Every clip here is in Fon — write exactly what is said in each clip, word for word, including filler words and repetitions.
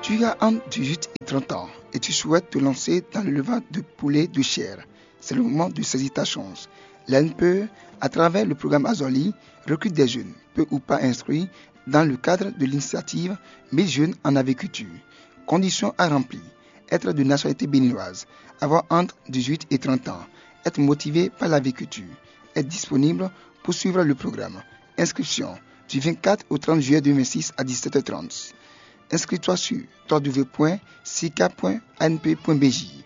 Tu as entre dix-huit et trente ans et tu souhaites te lancer dans l'élevage de poulets de chair. C'est le moment de saisir ta chance. L'A N P E, à travers le programme Azali, recrute des jeunes, peu ou pas instruits, dans le cadre de l'initiative mille jeunes en agriculture. Conditions à remplir : être de nationalité béninoise, avoir entre dix-huit et trente ans, être motivé par l'agriculture, être disponible pour suivre le programme. Inscription du vingt-quatre au trente juillet deux mille vingt-six à dix-sept heures trente. Inscris-toi sur w w w point sica point a n p point b j.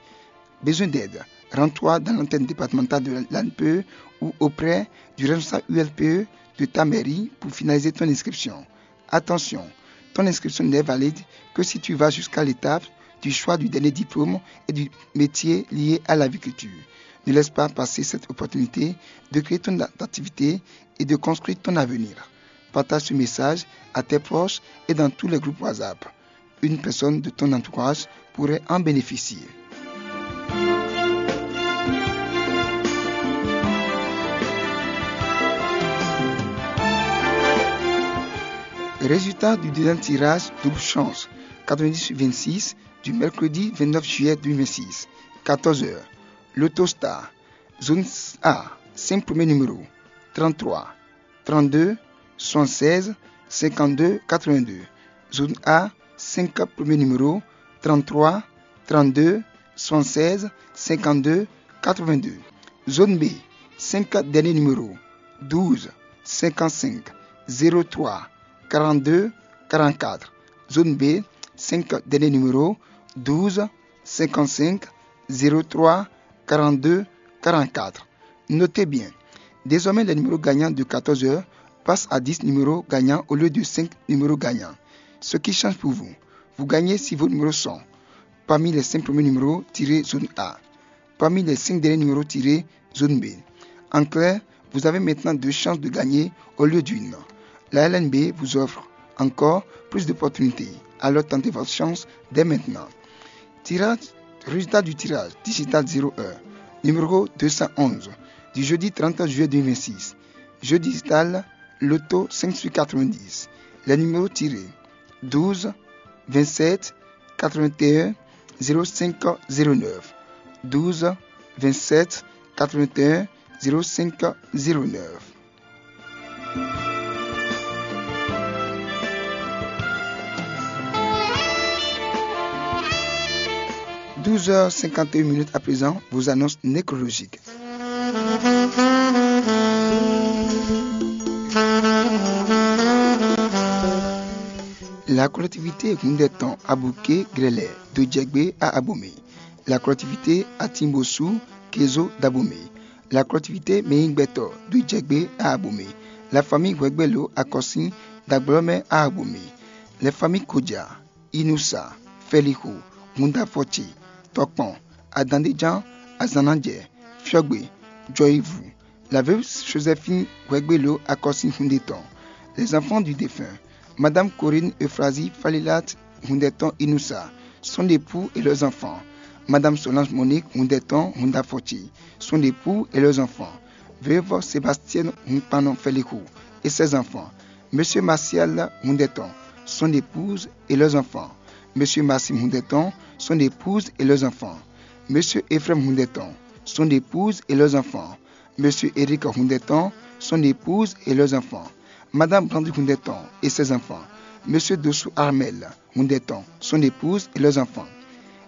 Besoin d'aide ? Rends-toi dans l'antenne départementale de l'A N P E ou auprès du responsable U L P E de ta mairie pour finaliser ton inscription. Attention, ton inscription n'est valide que si tu vas jusqu'à l'étape du choix du dernier diplôme et du métier lié à l'agriculture. Ne laisse pas passer cette opportunité de créer ton activité et de construire ton avenir. Partage ce message à tes proches et dans tous les groupes WhatsApp. Une personne de ton entourage pourrait en bénéficier. Résultat du deuxième tirage double chance quatre-vingt-dix vingt-six du mercredi vingt-neuf juillet deux mille vingt-six, quatorze heures. Lotostar, zone A, cinq premiers numéros, trente-trois, trente-deux, soixante-seize, cinquante-deux, quatre-vingt-deux. Zone A, cinq premiers numéros, trente-trois, trente-deux, soixante-seize, cinquante-deux, quatre-vingt-deux. Zone B, cinq derniers numéros, douze, cinquante-cinq, zéro trois, quarante-deux, quarante-quatre. Zone B, cinq derniers numéros, douze, cinquante-cinq, zéro trois, quarante-deux, quarante-quatre. Notez bien, désormais les numéros gagnants de quatorze heures passent à dix numéros gagnants au lieu de cinq numéros gagnants. Ce qui change pour vous, vous gagnez si vos numéros sont parmi les cinq premiers numéros tirés zone A, parmi les cinq derniers numéros tirés zone B. En clair, vous avez maintenant deux chances de gagner au lieu d'une. La L N B vous offre encore plus d'opportunités. Alors tentez votre chance dès maintenant. Tirage, résultat du tirage digital zéro heure, numéro deux cent onze, du jeudi trente juillet deux mille vingt-six. Jeu digital Lotto cinq sur quatre-vingt-dix. Les numéros tirés : douze, vingt-sept, quatre-vingt-un, zéro cinq, zéro neuf. Douze, vingt-sept, quatre-vingt-un, zéro cinq, zéro neuf. Douze heures cinquante et une minutes à présent, vos annonces nécrologiques. La collectivité Hundetan Abouké Grélé de Djegbe à Abomey. La collectivité Atimbossou Kézo d'Abomey. La collectivité Meyingbetò de Djegbe à Abomey. La famille Huegbelo Akosin d'Agblomey à Abomey. Les familles Kodja, Inoussa, Félixo, Hundafɔti, Tɔkpɔn, Adandéjan, Azannadjɛ, Fiɔgbe, Djɔyivu, la veuve Joséphine Huegbelo Akosin Hundetan. Les enfants du défunt, Madame Corinne Euphrasie Falilat Hundetan Inoussa, son époux et leurs enfants. Madame Solange Monique Hundetan Hundafɔti, son époux et leurs enfants. Veuve Sébastienne Hunkpanon Félixo et ses enfants. Monsieur Martial Hundetan, son épouse et leurs enfants. Monsieur Maxime Hundetan, son épouse et leurs enfants. Monsieur Ephraim Hundetan, son épouse et leurs enfants. Monsieur Eric Hundetan, son épouse et leurs enfants. Madame Brandy Hundetan et ses enfants. Monsieur Dossou Armel Hundetan, son épouse et leurs enfants.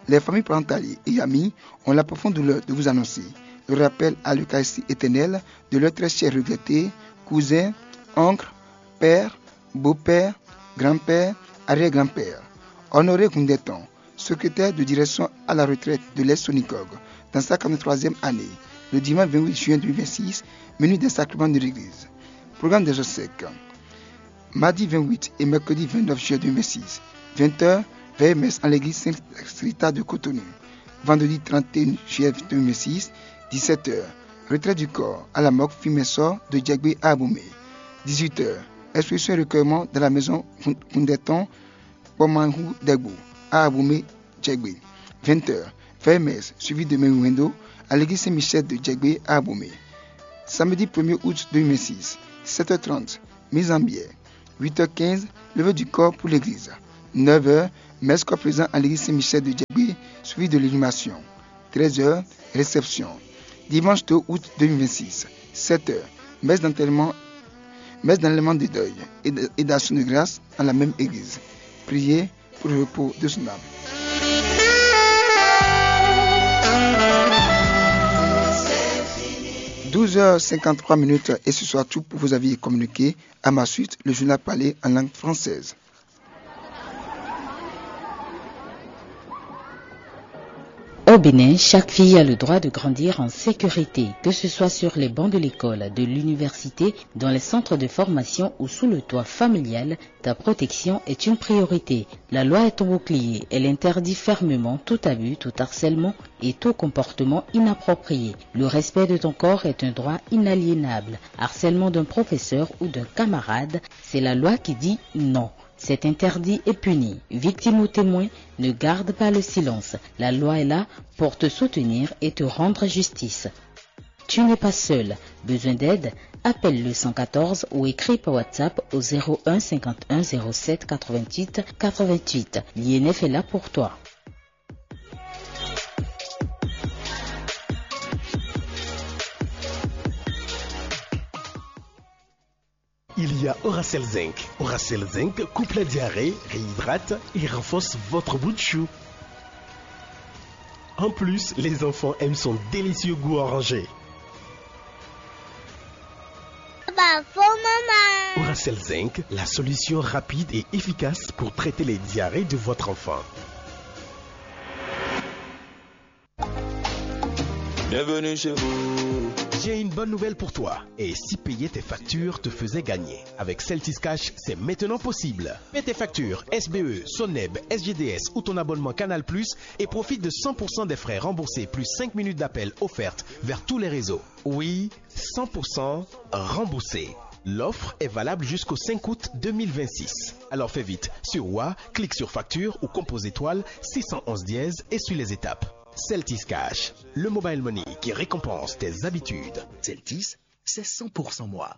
Les familles parentales et amis ont la profonde douleur de vous annoncer le rappel à l'Eucharistie éternelle de leur très cher regretté cousin, oncle, père, beau-père, grand-père, arrière-grand-père. Honoré Hundetan, secrétaire de direction à la retraite de l'Est Sonicog, dans sa quarante-troisième année, le dimanche vingt-huit juin deux mille vingt-six, minuit des sacrements de l'église. Programme des obsèques. Mardi vingt-huit et mercredi vingt-neuf juillet deux mille vingt-six, vingt heures, veillée messe en l'église Sainte Rita de Cotonou. Vendredi trente et un juillet deux mille vingt-six, dix-sept heures, retrait du corps à la morgue Fimensor de Djegbe à Abomey. Dix-huit heures, exposition et recueillement dans la maison Hun-, Hundeton, Kpɔmanhu Degbo, à Abomey, Djegbe. Vingt heures, veillée messe suivie de Mewendo à l'église Saint-Michel de Djegbe à Abomey. Samedi premier août deux mille vingt-six, sept heures trente, mise en bière. Huit heures quinze, levée du corps pour l'église. Neuf heures, Messe corps présent à l'église Saint-Michel de Djagbe, suivi de l'inhumation. Treize heures, réception. Dimanche deux août deux mille vingt-six, sept heures, messe d'enterrement, messe d'enlèvement de deuil et d-, et d'action de grâce dans la même église. Priez pour le repos de son âme. Douze heures cinquante-trois minutes et ce soir tout pour vos avis et communiqués. À ma suite, le journal parlé en langue française. Au Bénin, chaque fille a le droit de grandir en sécurité, que ce soit sur les bancs de l'école, de l'université, dans les centres de formation ou sous le toit familial. Ta protection est une priorité. La loi est ton bouclier. Elle interdit fermement tout abus, tout harcèlement et tout comportement inapproprié. Le respect de ton corps est un droit inaliénable. Harcèlement d'un professeur ou d'un camarade, c'est la loi qui dit non. C'est interdit et puni. Victime ou témoin, ne garde pas le silence. La loi est là pour te soutenir et te rendre justice. Tu n'es pas seul. Besoin d'aide? Appelle le cent quatorze ou écris par WhatsApp au zéro un cinquante et un zéro sept quatre-vingt-huit quatre-vingt-huit. L'I N F est là pour toi. Il y a Oracel Zinc. Oracel Zinc coupe la diarrhée, réhydrate et renforce votre bout de chou. En plus, les enfants aiment son délicieux goût orangé. Papa, faut maman. Oracel Zinc, la solution rapide et efficace pour traiter les diarrhées de votre enfant. Bienvenue chez vous. J'ai une bonne nouvelle pour toi. Et si payer tes factures te faisait gagner? Avec Celtis Cash, c'est maintenant possible. Paie tes factures S B E, Soneb, S G D S ou ton abonnement Canal Plus et profite de cent pour cent des frais remboursés plus cinq minutes d'appel offertes vers tous les réseaux. Oui, cent pour cent remboursé. L'offre est valable jusqu'au cinq août deux mille vingt-six. Alors fais vite. Sur Wa, clique sur facture ou compose étoile six cent onze dièse et suis les étapes. Celtis Cash, le mobile money qui récompense tes habitudes. Celtis, c'est cent pour cent moi.